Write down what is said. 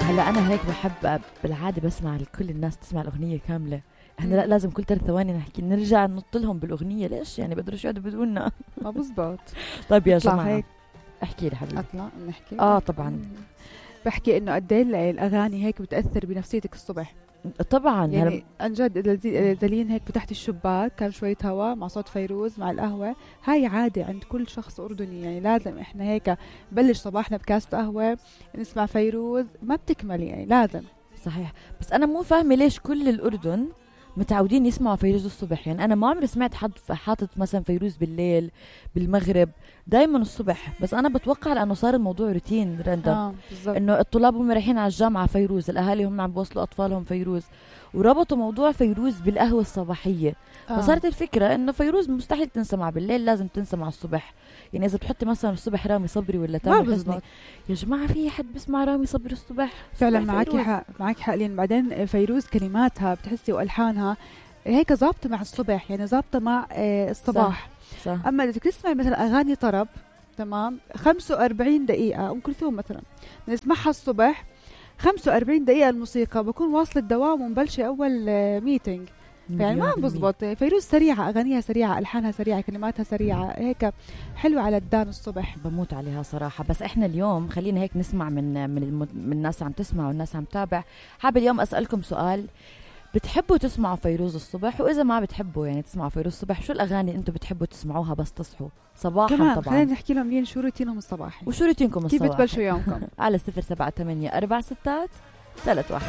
هلا أنا هيك بحب بالعادة بسمع كل الناس تسمع الأغنية كاملة. احنا لا لازم كل 3 ثواني نحكي نرجع ننط لهم بالأغنية. ليش يعني بقدروا يقعدوا بدوننا؟ ما بزبط. طيب يا جماعة هيك. احكي لي حبيبي. اطلع نحكي. طبعا. بحكي انه قد ايه الاغاني هيك بتاثر بنفسيتك الصبح. طبعا يعني عن جد دلين هيك فتحت الشباك كان شويه هواء مع صوت فيروز مع القهوه. هاي عاده عند كل شخص اردني، يعني لازم احنا هيك بلش صباحنا بكاسة قهوه نسمع فيروز، ما بتكمل يعني لازم. صحيح. بس انا مو فاهمه ليش كل الاردن متعودين يسمعوا فيروز الصبح. يعني انا ما عمري سمعت حد حاطط مثلا فيروز بالليل بالمغرب، دايما الصبح. بس انا بتوقع لانه صار الموضوع روتين رندم. انه الطلاب هم رايحين على الجامعه فيروز، الاهالي هم عم بوصلوا اطفالهم فيروز، وربطوا موضوع فيروز بالقهوه الصباحيه. فصارت الفكره انه فيروز مستحيل تنسمع بالليل، لازم تنسمع الصبح. يعني اذا بتحطي مثلا الصبح رامي صبري ولا تامر حسني، يا جماعه في حد بسمع رامي صبري الصبح؟ فعلا معك حق لين بعدين فيروز كلماتها بتحسي والحانها هيك ظابطه مع الصبح، يعني ظابطه مع الصباح. صح. اما اذا تسمعي مثلا اغاني طرب تمام 45 دقيقه ام كلثوم مثلا نسمعها الصبح 45 دقيقه الموسيقى بكون واصل الدوام ومبلشه اول ميتينج. يعني ما بزبط. فيروز سريعه، اغانيها سريعه، الحانها سريعه، كلماتها سريعه، هيك حلوه على الدان الصبح. بموت عليها صراحه. بس احنا اليوم خلينا هيك نسمع من الناس عم تسمع والناس عم تتابع. حابه اليوم اسالكم سؤال، بتحبوا تسمعوا فيروز الصبح؟ واذا ما بتحبوا يعني تسمعوا فيروز الصبح، شو الاغاني انتم بتحبوا تسمعوها بس تصحوا صباحا؟ كمان طبعا خلينا نحكي لهم لين شو روتينهم الصباحي وشو روتينكم الصباحي، كيف بتبلشوا يومكم على 078 4 6 3 1.